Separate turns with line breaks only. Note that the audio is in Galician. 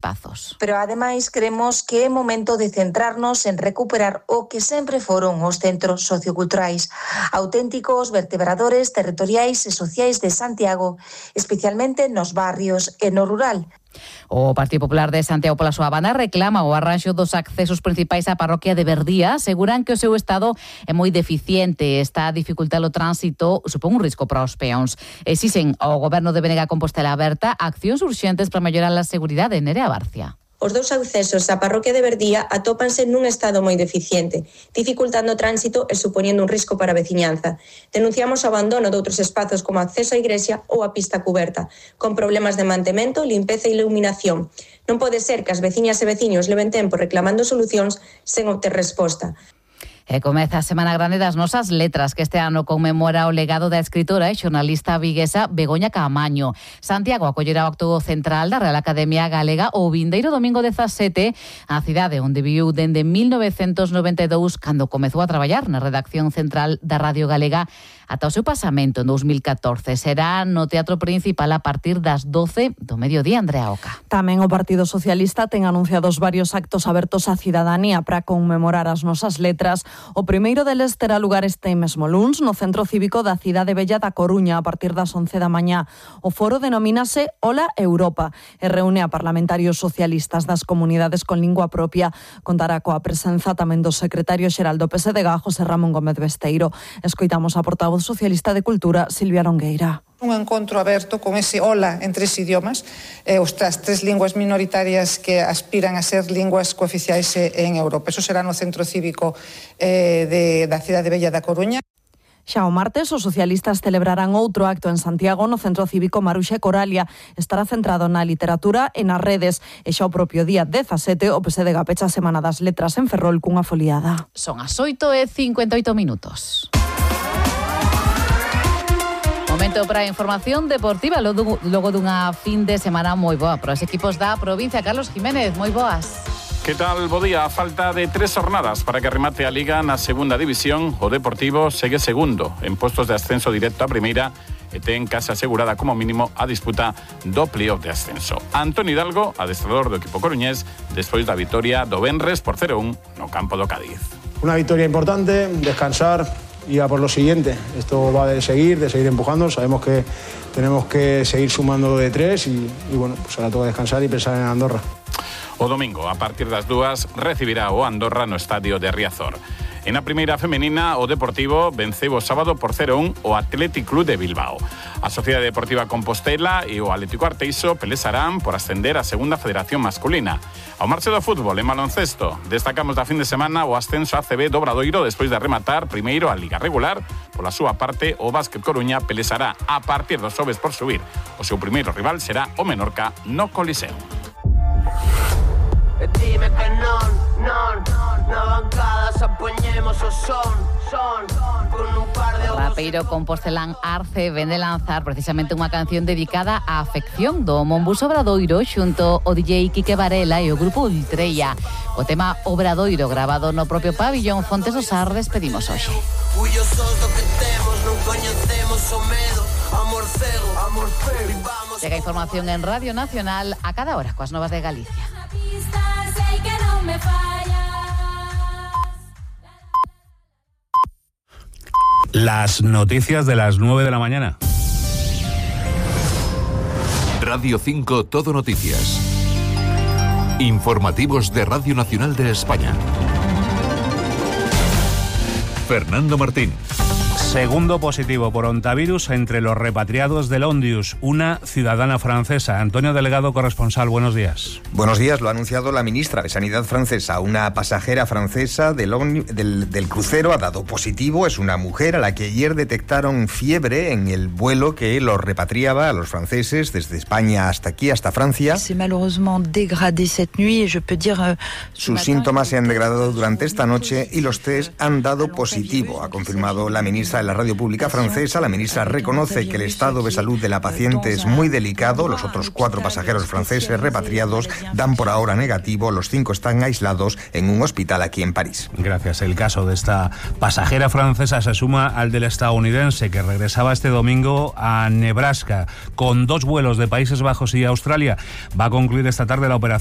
espazos.
Pero ademais cremos que é momento de centrarnos en recuperar o que sempre foron os centros socioculturais, auténticos vertebradores territoriais e sociais de Santiago, especialmente nos barrios e no rural.
O Partido Popular de Santiago pola súa banda reclama o arranxo dos accesos principais á parroquia de Verdía. Aseguran que o seu estado é moi deficiente, está a dificultar o tránsito, supón un risco para os peóns. Exixen ao Goberno de Benega Compostela Aberta accións urxentes para mellorar a seguridade. Nerea Barcia.
Os dous accesos á parroquia de Verdía atópanse nun estado moi deficiente, dificultando o tránsito e supoñendo un risco para a veciñanza. Denunciamos o abandono de outros espazos como acceso á igrexa ou a pista cuberta, con problemas de mantemento, limpeza e iluminación. Non pode ser que as veciñas e veciños leven tempo reclamando solucións sen obter resposta.
E comeza a Semana Grande das Nosas Letras, que este ano conmemora o legado da escritora e xornalista viguesa Begoña Caamaño. Santiago acollerá o acto central da Real Academia Galega o vindeiro domingo 17, a cidade onde viviu dende 1992, cando comezou a traballar na redacción central da Radio Galega, ata o seu pasamento en 2014. Será no Teatro Principal a partir das 12 do mediodía. Andrea Oca.
Tamén o Partido Socialista ten anunciados varios actos abertos á cidadanía para conmemorar as nosas letras. O primeiro deles terá lugar este mesmo luns no Centro Cívico da Cidade Bella da Coruña a partir das 11 da mañá. O foro denomínase Hola Europa e reúne a parlamentarios socialistas das comunidades con lingua propia. Contará coa presenza tamén do secretario xeral do PSDG, José Ramón Gómez Besteiro. Escoitamos a portavoz socialista de Cultura, Silvia Longueira.
Un encontro aberto con ese hola en 3 idiomas, as 3 linguas minoritarias que aspiran a ser linguas cooficiais en Europa. Eso será no Centro Cívico da Cidade Bella da Coruña.
Xa o martes, os socialistas celebrarán outro acto en Santiago no Centro Cívico Maruxa e Coralia. Estará centrado na literatura e nas redes. E xa o propio día 17, o PSDG pecha a Semana das Letras en Ferrol cunha foliada.
Son as 8:58 minutos. Momento para a información deportiva logo dunha fin de semana moi boa para os equipos da provincia. Carlos Jiménez, moi boas.
Que tal, bo día? A falta de 3 jornadas para que remate a Liga na segunda división, o Deportivo segue segundo en postos de ascenso directo a primeira e ten case asegurada como mínimo a disputa do playoff de ascenso. Antonio Hidalgo, adestrador do equipo coruñés, despois da vitoria do venres por 0-1 no campo do Cádiz.
Una victoria importante, descansar y a por lo siguiente. Esto va de seguir empujando. Sabemos que tenemos que seguir sumando de 3 y bueno, pues ahora toca descansar y pensar en Andorra.
O domingo, a partir das 2, recibirá o Andorra no estadio de Riazor. En a primeira femenina, o Deportivo venceu o sábado por 0-1 o Athletic Club de Bilbao. A Sociedade Deportiva Compostela e o Atlético Arteixo pelesarán por ascender á segunda federación masculina. Ao marche do fútbol, en baloncesto, destacamos da fin de semana o ascenso a ACB do Obradoiro despois de rematar primeiro a Liga Regular. Pola súa parte, o Básquet Coruña pelesará a partir dos xoves por subir. O seu primeiro rival será o Menorca no Coliseo.
Dime que non, na bancada se apoñemos o son con un par de...
O rapeiro compostelán Arce vende lanzar precisamente unha canción dedicada á afección do Monbus Obradoiro xunto o DJ Quique Varela e o grupo Ultreia. O tema Obradoiro grabado no propio pabillón Fontes do Sar despedimos hoxe. Llega información en Radio Nacional a cada hora coas novas de Galicia.
Las noticias de las 9 de la mañana.
Radio 5 Todo Noticias. Informativos de Radio Nacional de España. Fernando Martín.
Segundo positivo por ontavirus entre los repatriados del Ondius, una ciudadana francesa. Antonio Delegado, corresponsal, buenos días.
Buenos días, lo ha anunciado la ministra de Sanidad francesa. Una pasajera francesa del crucero ha dado positivo. Es una mujer a la que ayer detectaron fiebre en el vuelo que los repatriaba a los franceses desde España hasta aquí, hasta Francia. Sus síntomas se han degradado durante esta noche y los test han dado positivo, ha confirmado la ministra de la radio pública francesa. La ministra reconoce que el estado de salud de la paciente es muy delicado. Los otros 4 pasajeros franceses repatriados dan por ahora negativo. Los 5 están aislados en un hospital aquí en París.
Gracias. El caso de esta pasajera francesa se suma al del estadounidense que regresaba este domingo a Nebraska con 2 vuelos de Países Bajos y Australia. Va a concluir esta tarde la operación